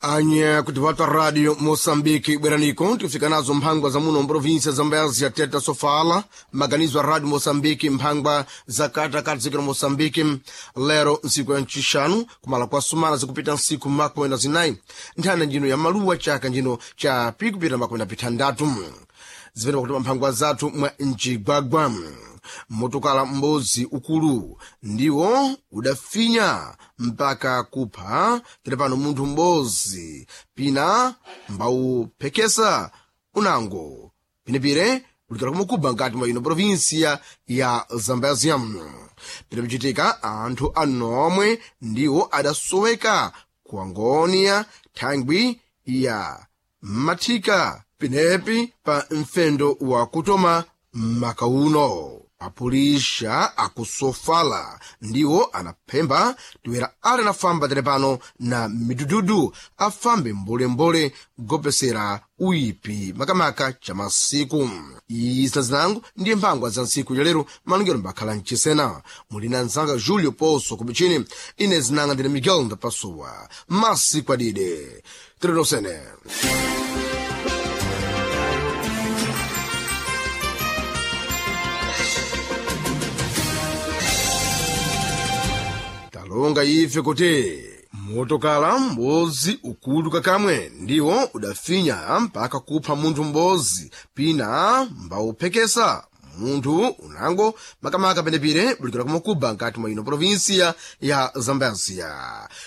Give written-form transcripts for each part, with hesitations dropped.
Anya kuti vata radio Moçambique bweraniko tikufika nazo mphangwa za muno mprovinsia Zambézia teta sofala maganizo a radio Moçambique mphangwa za katakati zikira Moçambique lero ntsiku ya ncixanu kumala kwa sumana zikupita ntsiku makumi na zinayi nthanda njino ya maluwa chaka njino cha pikupita makumi na pithandatu zimene pakuti mphangwa zathu mwa mcigwagwa motokala m'bodzi ukulu ndiwo udafinya mpaka kupha tere pano munthu m'bodzi pina mbawuphekesa unango pinepire ulikala kumukuba nkati mwa ino provinsia ya Zambézia. Pinapichitika anthu anomwe ndiwo adasoweka ku Angônia thangwi ya mathika pinepi pa mfendo wa kutoma makauno. Apulisha akusofala ndiwo anaphemba tiwera ali anafamba tere pano na midududu afambe mbolembole kugopesera uyipi makamaka cha masiku. Isina zinango ndiye mphangwa za ntsiku ya lero malungero mbakhala mchisena muli na mzanga Julio Poço kumichini ine zinanga ndine Miguel Ndapasuwa masiku adide tirenosene. Talonga ife kuti motokala m'bodzi ukulu kakamwe ndiwo udafinya mpaka kupha munthu m'bodzi pina mbawuphekesa munthu unango makamaka penepire bulikira kumukuba nkati mwa ino provinsia ya Zambézia.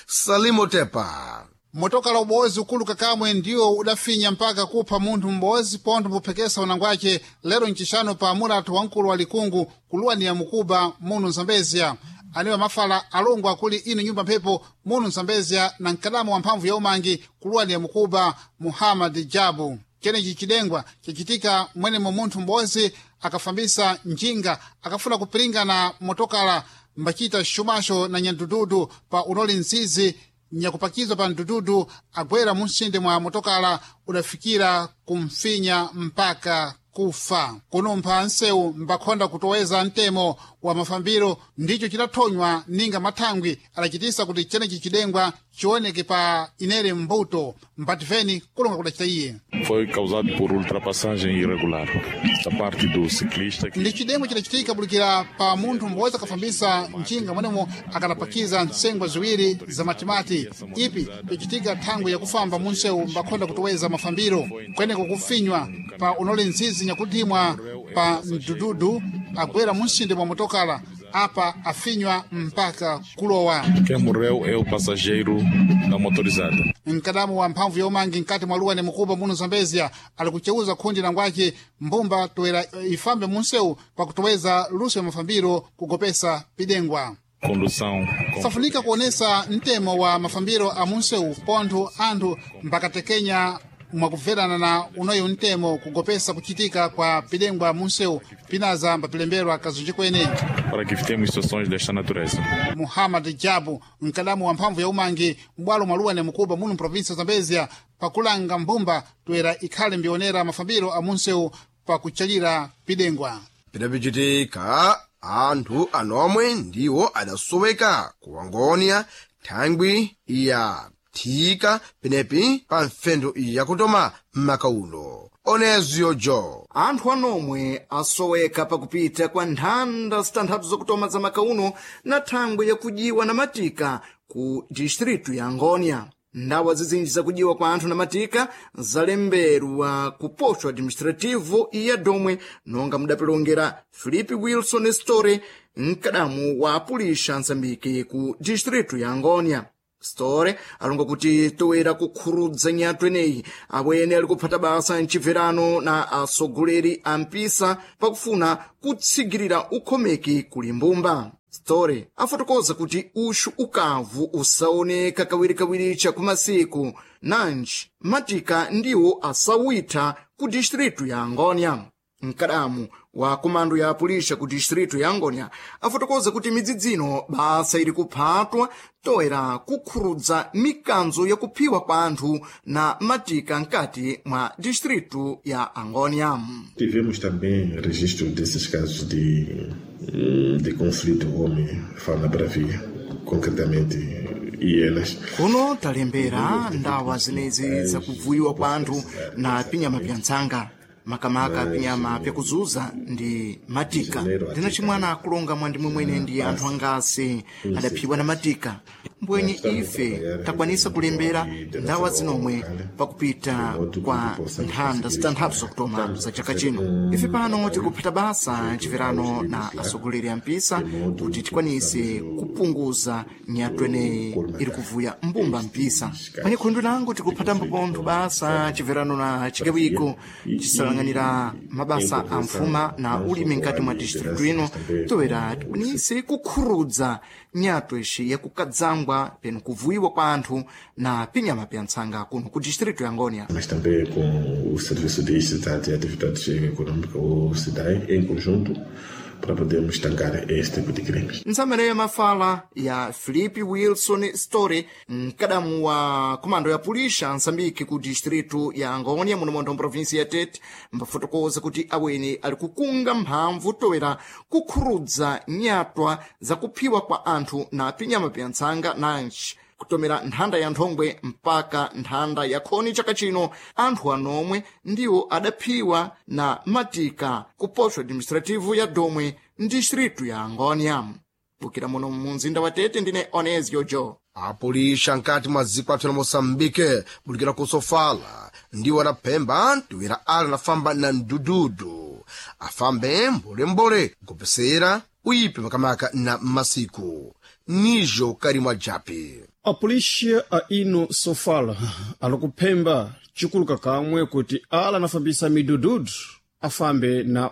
Salimo Tepa. Motokala ubozi ukulu kakamwe ndiwo udafinya mpaka kupha munthu m'bozi pontho mbuphekesa unangwace lero ncixanu pa mulatu wamkulu wa likungu kuluwaniya mukuba munu Zambézia. Aniwa mafala alongo akuli ino nyumba mphepo munu Zambézia na mkadamo wa mphamvu ya umangi kuluwaniya mukuba Muhammad Jabu. Ceneci cidengwa cacitika mwenemo munthu m'bozi akafambisa njinga akafuna kupiringa na motokala mbacita xumaxo na nyandududu pa unoli nzizi nyakupakizwa pa mdududu agwera munsinde mwa motokala udafikira kumfinya mpaka kufa. Kunumpha nsewu mbakhonda kutoweza mtemo wa mafambiro ndicho cidathonywa ninga mathangwi adacitisa kuti ceneci cidengwa cioneke pa inere mbuto mbativeni kulonga kudacita iye. Foi causado por ultrapassagem irregular da parte do ciclista que Ndi cidengwa cidacitika bulikira pa munthu m'bodzi akafambisa njinga mwenemo akadapakiza ntsengwa ziwiri za matimati. Ipi icitika thangwi yakufamba munsewu mbakhonda kutoweza mafambiro kweneko kufinywa pa unoli nzizi nyakutimwa pa mdududu agwera munsinde mwa motokala apa afinywa mpaka kulowa. Quem morreu é o passageiro da motorizada. Mkadamu wa mphamvu ya umangi mkati mwa luwa ni mukuba muno Zambezia alikucheuza khundi la ngwace mbumba toera ifambe munsewu pakutoweza luso ya mafambiro kugopesa pidengwa. Condução com Safunika kuonesa mtemo wa mafambiro a munsewu pontho anthu mbakatekenya mwakubverana na unoyo mtemo kugopesa kuchitika kwa pidengwa munsewu pinaza mbapilemberwa kazunji kwene. para que evitemos situações desta natureza. Muhammad Jabu mkadamu wa mphamvu ya umangi m'bwalo mwa luwa mukuba muno mprovinsia Zambezia pakulanga mbumba toera ikhale mbionera mafambiro a munsewu pakuchalira pidengwa. Pidapichitika anthu anomwe ndiwo adasoweka ku Angônia thangwi ya thika penepi pa mfendo yakutoma m'makaulo. Oneziyo jo. Anthu anomwe asoweka pakupita kwa nthanda zitanthatu zakutoma za makauno na thangwi yakujiwa na matika ku distritu ya Angônia. Ndawa zizinji zakujiwa kwa anthu na matika zalemberwa ku posto administrativo ya Domwe nonga mudapilongera Filipe Wilson Store mkadamu wa apulisha Nzambiki ku distritu ya Angônia. Store alonga kuti toera kukhurudza nyatu eneyi awene ali kuphata basa mchibverano na atsogoleri a mpisa pakufuna kutsigirira ukhomeki kuli mbumba. Store afotokoza kuti uxu ukavu usaoneka kawirikawiri chakumasiku nanji matika ndiwo asawitha ku distritu ya Angônia. Mkadamu wa komando ya apulisha ku distritu ya Angônia afotokoza kuti midzidzino basa ili kuphatwa toera kukhurudza mikanzo yakuphiwa kwa anthu na matika mkati mwa distritu ya Angônia. Tivemos também registro desses casos de conflito homem-fauna bravia, concretamente hienas. Kuno talembera ndawa zenezi zakuvuyiwa kwa anthu na pinyama pya ntsanga, makamaka pinyama pyakuzuza ndi matika. Ndina chimwana akulonga mwandimwe mwene ndi anthu angasi adaphiwa na matika. Mbwenye ife takwanisa kulembera ndawa zinomwe pakupita kwa nthanda zitanthatu zakutoma za chaka chino. Ife pano tikuphata basa mchiverano na atsogoleri a mpisa kuti tikwanise kupunguza nyatwa ineyi iri kuvuya mbumba mpisa. Panye khundu langu tikuphatambo pontho basa mchiverano na chigawiko chisalang'anira mabasa a mfuma na ulimi mkati mwa distritu ino, toera tikwanise kukhurudza nyatwa ixi yakukadzangwa peno kuvuyiwa kwa anthu na pinyama pya ntsanga kuno ku distrito ya Ngônia. Mas também com o Serviço Distrital de Atividades Econômicas, o SIDAE, em conjunto, para podermos estancar este tipo de crimes. Ntsamere ya mafala ya Felipe Wilson Story, mkadamu wa komando ya pulisha Nsambique ku distrito ya Angônia, muno montho mprovinsi ya Tete, mbafotokoza kuti aweni ali kukunga mphamvu toera kukhurudza nyatwa zakuphiwa kwa anthu na pinyama pya ntsanga nanji kutomera nthanda ya nthongwe mpaka nthanda ya khoni chaka chino. Anthu anomwe ndiwo adaphiwa na matika ku posto administrativo ya Domwe mdistritu ya Angônia. Bukira muno mu mzinda wa Tete, ndine Onesio Jo. Apulisha nkati mwa dziko apsa la Moçambique bulikira ku Sofala ndiwo adaphemba anthu ira ali anafamba na mdududu afambe mbolembole kupesera uyipe makamaka na masiku nijo karimwa japi. Apulixa a ino Sofala alikuphemba chikuluka kamwe kuti ala anafambisa midududu afambe na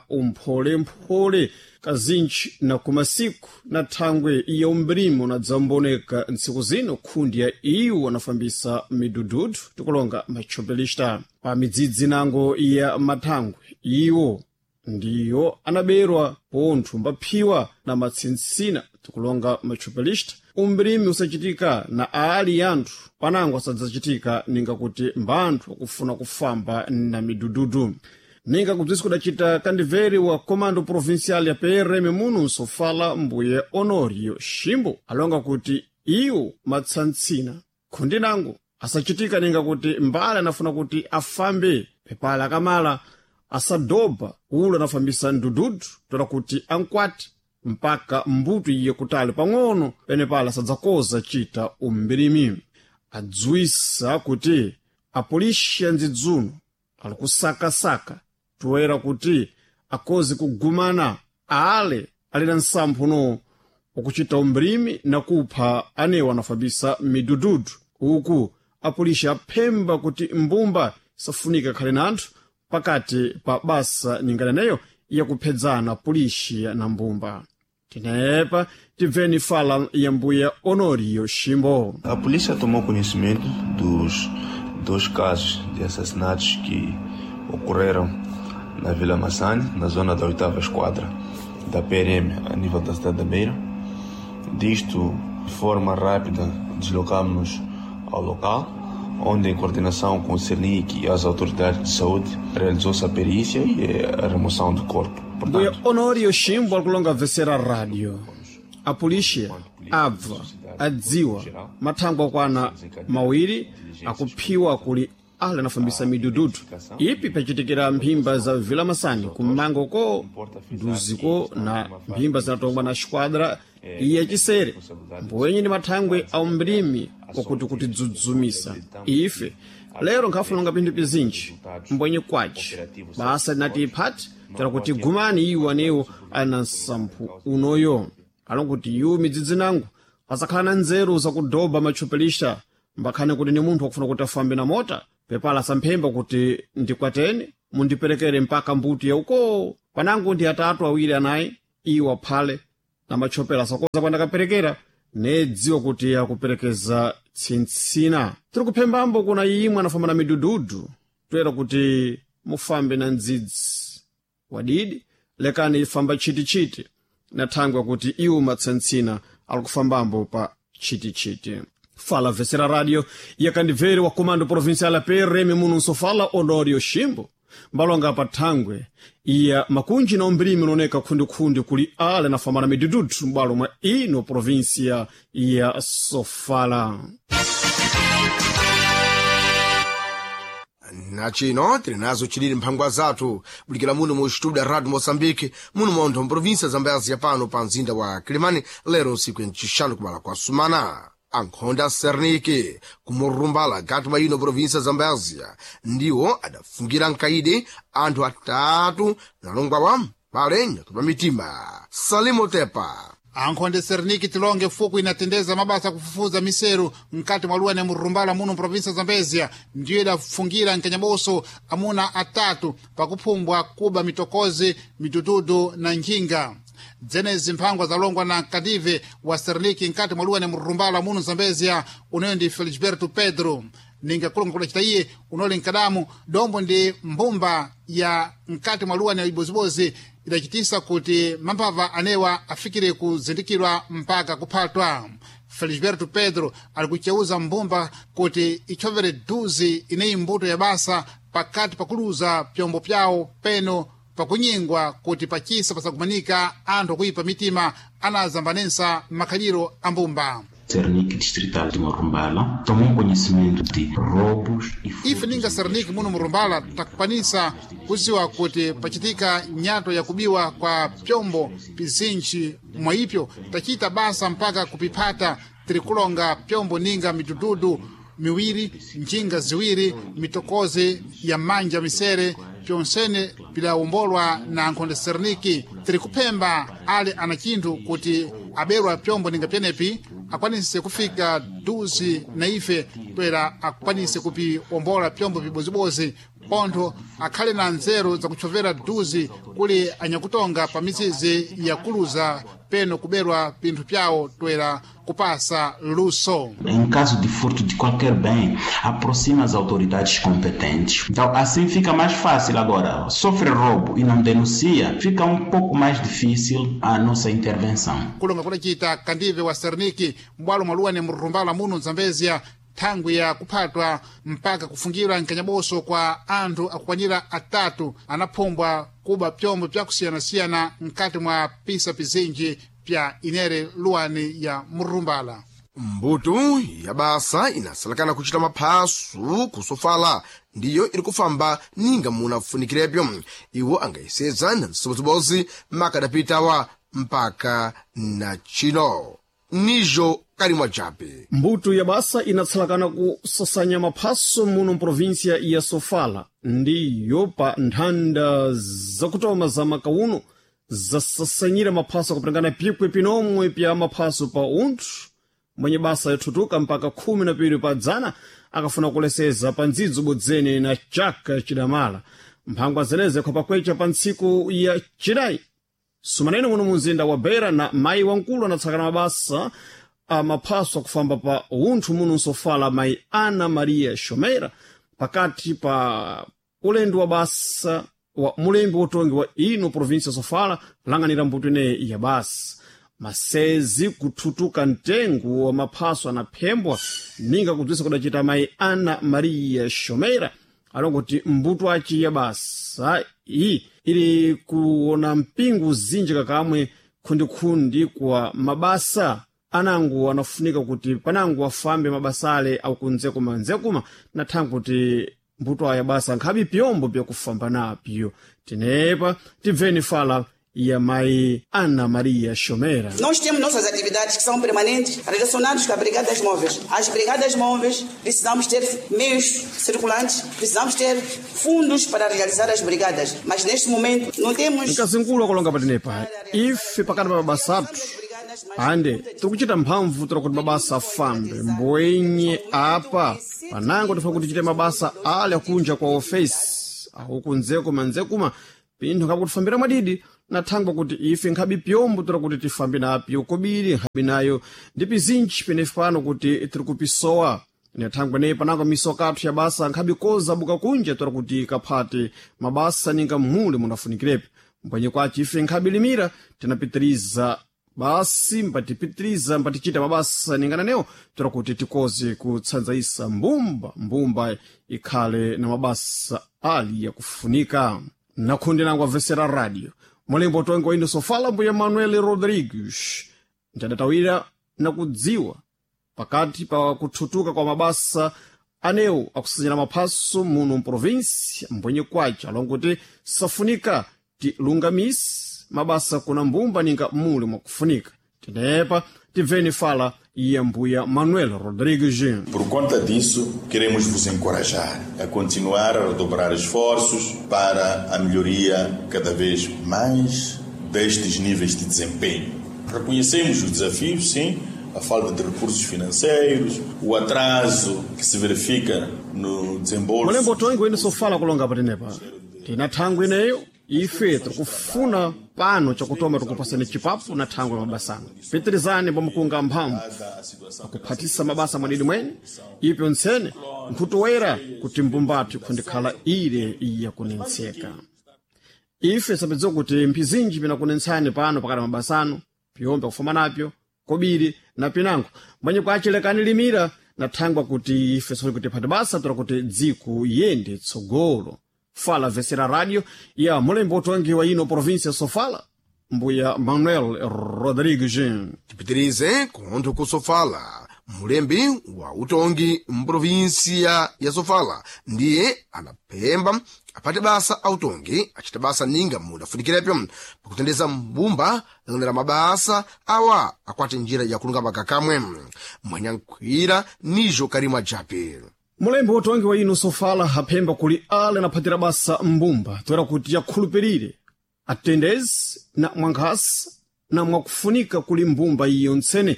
umpholemphole kazintchi na kumasiku na thangwe ya umbrimo na dzamboneka ntsiku zino khundi ya iwo anafambisa midududu tikulonga matchopelista pa midzidzi nango ya mathangwe iwo ndiyo anaberwa pontho mbaphiwa na matsintsina tikulonga matchopelista. Umbrimi usachitika na ali anthu panango asadzachitika ninga kuti mbanthu akufuna kufamba na midududu. Ninga kubzisi kudacita kandiveri wa comando provincial ya PRM muno Nsofala, mbuye Honorio Shimbo alonga kuti iwo matsantsina khundi nango asachitika ninga kuti mbale anafuna kuti afambe pepala akamala asadoba ulo anafambisa ndududu tola kuti ankwati mpaka mbuto iye kutali pang'ono penepala asadzakoza chita umbirimi. Adziwisa kuti apolisi ya ndzidzuno ali kusakasaka toera kuti akoze kugumana ale ali na nsamphuno wakuchita umbrimi na kupha anewo anafambisa midududu. Uku apolisi aphemba kuti mbumba isafunika khale na anthu pakati pa basa ningananeyo yakuphedzana polisi na mbumba. Tinepa tibveni fala ya mbuya Honorio Shimbo. A polícia tomou conhecimento dos dois casos de assassinatos que ocorreram na Vila Massane, na zona da 8ª Esquadra da PRM, a nível da cidade da Beira. Disto, de forma rápida, deslocámos-nos ao local, onde, em coordenação com o CERNIC e as autoridades de saúde, realizou-se a perícia e a remoção do corpo. Mbuya Honorio Shimbo akulonga vesera rádio. A polícia abva adziwa mathangwe akwana mawiri akuphiwa kuli ale anafambisa midududu ipi pachitikira mphimba za Vila Masani kummango ko nduziko na mphimba zinatongwa na xquadra iya chisere mbwenye ndi mathangwe a umbrimi wakuti kutidzudzumisa ife lero nkhafulonga pinthu pizinji mbwenye kwaci basa linati iphati tera kuti gumani iwo anewo ali na nsamphu unoyo alonkuti iwo midzidzi nangu asakhala na nzeru zakudoba matchupelisha mbakhane kuti ni munthu wakufuna kuti afambe na mota pepala samphemba kuti ndikwateni mundiperekere mpaka mbuti yauko panangu ndi atatu awiri anayi iwo aphale na matchopela asakoza kwandakaperekera nedziwa kuti akuperekeza tsintsina. Tiri kuphembambo kuna imwe anafamba na midududu toera kuti mufambe na ndzidzi wadidi lekani ifamba chitichiti na thangwe kuti iwo matsantsina ali kufambambo pa chitichiti. Fala vesera radio yakandibveri wa comando provincial ya PRM muno Nsofala Honorio Shimbo. Mbalonga pa thangwe iya makunji na umbirimi unaoneka khundikhundi kuli ale nafambana midududu m'bwalo mwa ino provinsia ya Sofala. Na chino tili nazo chilili mphangwa zathu bulikira muno mu studio ya Radio Moçambique, muno montho mprovinsia Zambezia, pano pa mzinda wa Kilimani. Lero nsiku yancixanu kumala kwa sumana, ankhonda Serniki kumurumbala gati mwa ino provinsia Zambezia ndiwo adafungira mkaidi anthu atatu nalongwawa pale nyatu mitima. Salimo Tepa. Ankhonde Serniki tilonge fuku inatendeza mabasa kufufuza miseru mkati mwa luwa ne murumbala muno mprovinsia Zambezia ndiyo idafungira nkanyaboso amuna atatu pakuphumbwa kuba mitokozi, mitututu na njinga. Dzenezi mphangwa zalongwa na kadive wa Serniki mkati mwa luwa ne murumbala muno Zambezia, uneyo ndi Felisberto Pedro. Ninga kulonga kudacita iye unoli nkadamu dombo ndi mbumba ya mkati mwa luwa na ibozibozi idacitisa kuti mambava anewa afikire kuzindikirwa mpaka kuphatwa. Felisberto Pedro ali kuceuza mbumba kuti ichovere duzi ineyi mbuto ya basa pakati pakuluza pyombo pyawo peno pakunyingwa kuti pachisa pasakumanika anthu akuipa mitima anazambanensa makhaliro a mbumba. Cernic Distrital de Morrumbala tomou conhecimento de roubos e Ife ninga Serniki muno murumbala takukwanisa kuziwa kuti pachitika nyato yakubiwa kwa pyombo pizinji mwaipyo tachita basa mpaka kupiphata. Tiri kulonga pyombo ninga mitututu miwiri, njinga ziwiri, mitokozi ya manja misere, pyonsene pidawombolwa na nkhonde Serniki. Tiri kuphemba ali ana chinthu kuti aberwa pyombo ninga pyenepi akwanise kufika duzi na ife toera akwanise kupiwombola pyombo pibozibozi, pontho akhale na nzeru zakutchovera duzi kuli anyakutonga pa mizizi yakuluza peno kuberwa pinthu pyawo toera kupasa luso. Em caso de furto de qualquer bem, aproxima as autoridades competentes. Então, assim fica mais fácil agora. Sofre roubo e não denuncia, fica um pouco mais difícil a nossa intervenção. Kulonga kudacita kandive wa Serniki mbwalo mwaluwa ne murumbala muno Zambezia thangwi ya kuphatwa mpaka kufungirwa nkanyaboso kwa anthu akukwanira atatu anaphumbwa kuba pyombo pyakusiyanasiyana mkati mwa pisa pizinji pya inere luwani ya murumbala. Mbuto ya basa inasalakana kuchita maphasu kusofala ndiyo iri kufamba ninga munafunikirebyo. Iwo angayeseza na msibozibozi makadapitawa mpaka na chino nijo kalimwa jape. Mbuto ya basa inatsalakana kusasanya maphaso muno mprovinsia ya Sofala ndiyo pa nthanda zakutoma za makauno zasasanyira maphaso akupatangana pikwe pinomwe pya maphaso pa unthu mwenye basa yothutuka mpaka 12 pa dzana akafuna kuleseza pa ndzidzo bodzene na chaka chidamala. Mphangwa zeneze khwapakwecha pa ntsiku ya chinayi sumanene muno mumzinda wa Beira na mayi wamkulu anatsakana mabasa amaphaso akufamba pa unthu muno nsofala, mayi Ana Maria Shomeira, pakati pa ulendo wa basa wa mulembi wotongi wa ino provinsia Sofala lang'anira mbuto ineyi ya basa. Masezi kuthutuka mtengo wa maphaso anaphembwa ninga kubzisa kudacita mayi Ana Maria Shomeira alongoti mbuto aci ya basa iyi ili kuona mpingo zinji kakamwe khundikhundi kwa mabasa anangu anafunika kuti panangu afambe mabasa ale aukunzekuma nzekuma na thangu kuti mbuto aya basa nkhabi pyombo pyakufamba napyo. Tenepa tibveni fala ya mayi Ana Maria Shomera. Nós temos nossas atividades que são permanentes relacionadas com as brigadas móveis. As brigadas móveis precisamos ter meios circulantes, precisamos ter fundos para realizar as brigadas. Mas neste momento não temos. Mkazinkulu akulonga patenepa ife pakati pa mabasa athu ande tikuchita mphamvu tira kuti mabasa afambe mbwenye apa panango tifuna kuti tichite mabasa ale akunja kwa ofesi aukunzekuma nzekuma pinthu nkhabe kutifambira mwadidi na thangwa kuti ife nkhabe pyombo tira kuti tifambe napyo kobiri nkhabe nayo ndi pizinji penefe pano kuti tiri kupisowa na thangwa neyi panango misoka athu ya basa nkhabe koza buka kunja tira kuti kaphate mabasa ninga mhule munafunikirepo. Mbwenye kwaci ife nkhabe limira tinapitiriza Basi mbatipitiriza mbatichita mabasa ningananewo toera kuti tikoze kutsanzaisa mbumba, mbumba ikhale na mabasa ali yakufunika. Nakhunde nangu amvesera radio mulembo utongi wa ino Sofala mbuya Manuel Rodrigues ntadatawira na kudziwa pakati pa kuthutuka kwa mabasa anewo akusanyira maphaso muno mprovinsi mbwenye kwace alongo kuti safunika tilungamise mabasa kuna mbumba ninga muli mwakufunika. Tenepa tibveni fala ya mbuya Manuel Rodrigues. Por conta disso, queremos vos encorajar a continuar a redobrar esforços para a melhoria cada vez mais destes níveis de desempenho. Reconhecemos os desafios, sim, a falta de recursos financeiros, o atraso que se verifica no desembolso. Mulembo tongi wene sofala kulonga patenepa tina thangwi ineyo ife tikufuna pano chakutoma tikupasani chipapu na thangwi la mabasano. Pitirizani pamukunga mphamvu akuphatisa mabasa mwadidi mwene ipyo ntsene nkhutuwera kuti mbumbathu ikhundikhala ile yakunentseka. Ife sapedza kuti mphizinji pinakunentsani pano pakati mabasano piyombe kufuma napyo kobiri na pinango mwenye kwachilekani limira na thangwa kuti ife soli kuti phati basa tola kuti dziko yende tsogolo. Fala vesera radio ya mulembo utongi wa ino província Sofala mbuya Manuel Rodrigues. Tipitirize kunthu ku Sofala. Mulembi wa utongi mprovinsia ya Sofala ndiye anaphemba apate basa autongi achita basa ninga mudafunikirepyo pakutendeza mbumba lang'anira mabasa awa akwate njira yakulungama kakamwe mwanyankhwira nijo Karimu Ajape. Mulembi wotongi wa ino Sofala aphemba kuli ale anaphatira basa mbumba toera kuti yakhulupirire atendezi na mwankhasa na mwakufunika kuli mbumba iyo ntsene.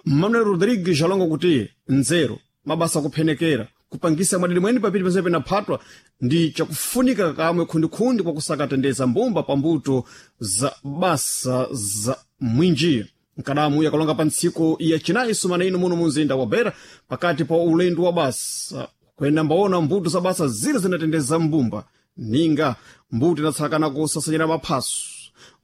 Manuel Rodrigues alonga kuti nzeru mabasa akuphenekera kupangisa mwadidi mwene papiti pensepe penaphatwa ndi chakufunika kamwe khundikhundi kwakusaka tendeza mbumba pambuto za basa za mwinji. Nkadamu yakalonga pa ntsiku ya chinayi sumana ino muno munzinda wa Beira pakati pa ulendo wa basa kwenda mbaona mbuto za basa zile zinatendeza mbumba ninga mbuto inatsakana kusasanyira maphaso,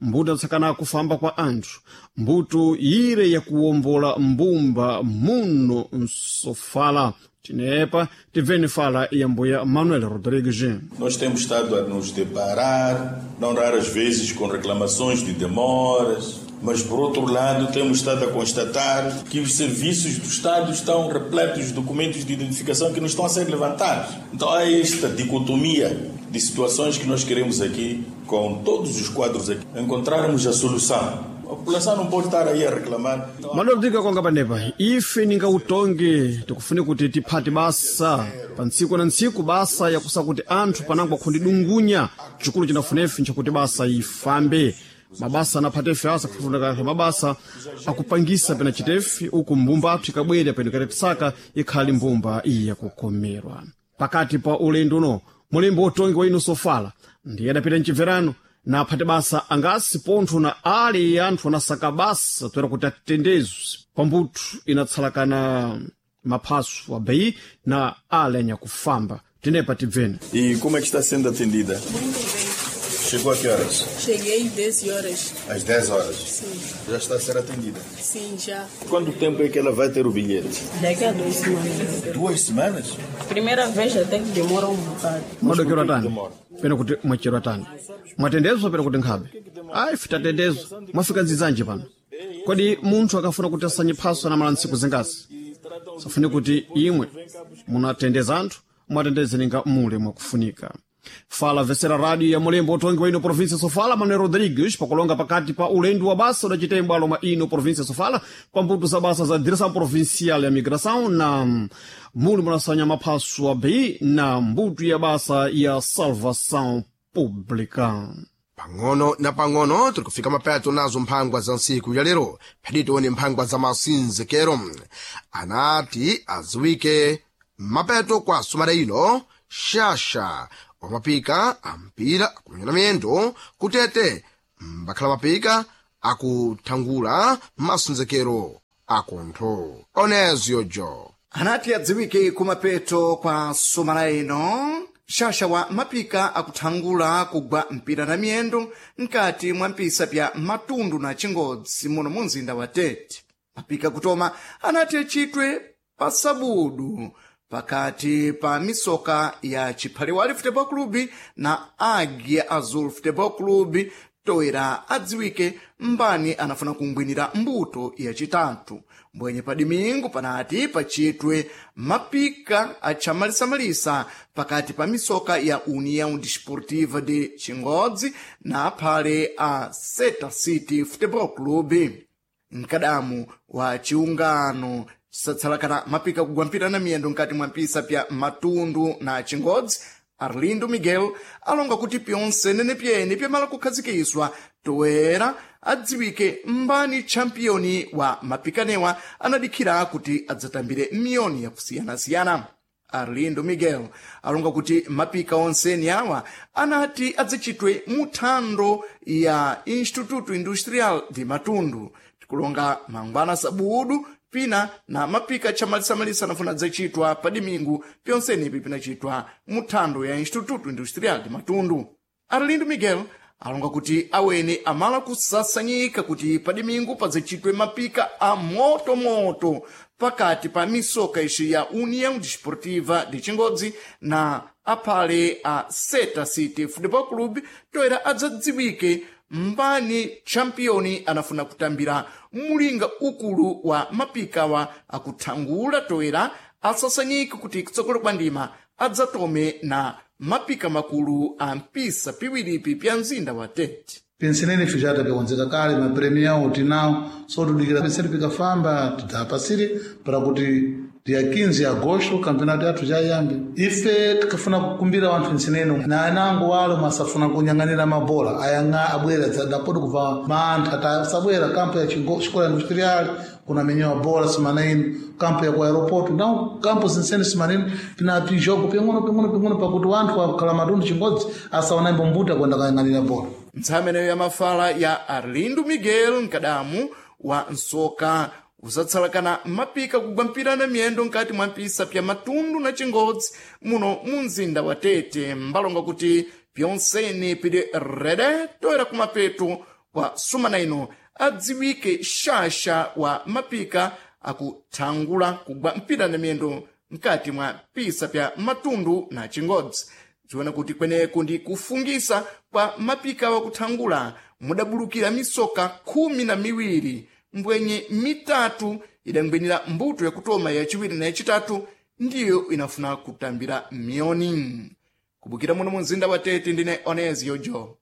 mbuto inatsakana kufamba kwa anthu, mbuto ire yakuwombola mbumba muno msofala. Tinepa tibveni fala ya mbuya Manuel Rodrigues. Nós temos estado a nos deparar, não raras vezes, com reclamações de demoras, mas por outro lado temos estado a constatar que os serviços do Estado estão repletos de documentos de identificação que não estão a ser levantados. Então há esta dicotomia de situações que nós queremos aqui, com todos os quadros aqui, encontrarmos a solução. A população não pode estar aí a reclamar. Manuel Rodrigues akonga panepa ife ninga utongi tikufune kuti tiphate basa pa ntsiku na ntsiku basa yakusa kuti anthu panango akhundidungunya chikulu chinafunefe nchakuti basa ifambe. Mabasa anaphatefe asa kufunika mabasa akupangisa pena chitefe uku mbumba athu ikabwera peno ikatetisaka ikhali mbumba iyi yakukomerwa. Pakati pa ulendo uno mulembo wotongi wa ino Sofala ndiye adapita mchibverano na aphate basa angasi pontho na ali anthu anasaka basa toera kuti atendezwe pambuto inatsalakana maphaso abeyi na ali anyakufamba. Tenepa tibveni. E como é que está sendo atendida? Chegou a que horas? Cheguei 10 horas. Às 10 horas? Sim. Já está a ser atendida? Sim, já. Quanto tempo é que ela vai ter o bilhete? Daqui a 2 semanas. 2 semanas? Primeira vez até que demora um bocado. Mwadokero atani? Pena kuti mwachero atani? Mwatendezwa pena kuti nkhabe? Ayi, fitatendezwa. Mwafika nzizanje pano. Kodi munthu akafuna kuti asanye phaso anamala ntsiku zingasi? Safune kuti imwe munatendeza anthu, mwatendeze ninga mule mwakufunika. Fala vesera radio ya mulembo utongi wa ino província Sofala Manuel Rodrigues pakulonga pakati pa ulendo wa basa udacita imbwalo mwa ino província Sofala pambuto za basa za Direção Provincial ya Migração na muli munasanya maphaso a BI na mbuto ya basa ya Salvação Pública. Pang'ono na pang'ono tiri kufika mapeto nazo mphangwa za ntsiku ya lero. Phedi tione mphangwa za masinzekero. Anati aziwike mapeto kwa sumana ino shasha wamapika ampira akumenyana miyendo kutete mbakhala mapika akuthangula masinzekero akuntho oneziyojo. Anati adziwike kumapeto kwa sumana ino Xaxa wa mapika akuthangula kugwa mpira na miyendo nkati mwa mpisa pya Matundu na Chingodzi muno mu mzinda wa Tete. Mapika kutoma anati acitwe pa Sabudu pakati pa misoka ya Chiphaliwali Futebol Clube na Águia Azul Futebol Clube, toera adziwike mbani anafuna kungwinira mbuto yacitatu. Mbwenye pa Dimingu panati pacitwe mapika achamalisamalisa pakati pa misoka ya União Desportiva de Chingodzi na aphale a Seta City Futebol Clube. Mkadamu wa chiungano chisatsalakana mapika kugwa mpira na miyendo nkati mwa mpisa pya Matundu na Chingodzi, Arlindo Miguel, alonga kuti pyonse nene pyene pyamala kukhazikiswa toera adziwike mbani champiyoni wa mapikanewa anadikhira kuti adzatambire miyoni yakusiyanasiyana. Arlindo Miguel alonga kuti mapika onseni awa anati adzachitwe muthando ya Instituto Industrial de Matundu. Tikulonga mangwana Sabudu pina na mapika chamalisamalisa anafuna adzachitwa pa Dimingu, pyonsenipi pinachitwa muthando ya Instituto Industrial de Matundu. Arlindo Miguel alonga kuti awene amala kusasanyika kuti pa Dimingu padzachitwe mapika a motomoto pakati pa misoka ixi ya União Desportiva de Chingodzi na aphale a Seta City Football Club, toera adzadziwike mbani champiyoni anafuna kutambira mulinga ukulu wa mapikawa akuthangula, toera asasanyike kuti kutsogolo kwa ndima adzatome na mapika makulu a mpisa piwiripi pya mzinda wa Tete. Pensenene ife já tapikonzeka kale mapremião tinawo, so tudikira pensene pikafamba tidzapasire para kuti dia 15 agosto campeonato yathu jayambe. Ife tikafuna kukumbira wanthu nsenene na anango walo masafuna kunyang'anira mabola ayang'a abwera dzadapodi kubva mantha tasabwera kampo ya xikola industrial kunamenyewa bola semana ino, kampo ya ku aeroporto nawo kampo zinsene semana ino pina pijogo ping'ono ping'ono ping'ono pakuti wanthu akhala Matundu Chingodzi asaona imbombuta kwenda kayang'anira bola. Ntsameneyo ya mafala ya Arlindo Miguel, mkadamu wa nsoka usatsalakana mapika kugwa mpira na miyendo nkati mwa mpisa pya Matundu na Chingodzi muno mu mzinda wa Tete, mbalonga kuti pyonseni pili rede toera kumapeto kwa sumana ino adziwike xaxa wa mapika akuthangula kugwa mpira na miyendo nkati mwa pisa pya Matundu na Chingodzi. Tiona kuti kweneku ndi kufungisa kwa mapika wakuthangula mudabulukira misoka 12, mbwenye mitatu idangwinira mbuto yakutoma, yachiwiri na yachitatu ndiyo inafuna kutambira miyoni. Kubukira muno mu mzinda wa Tete, ndine Onezio Jo.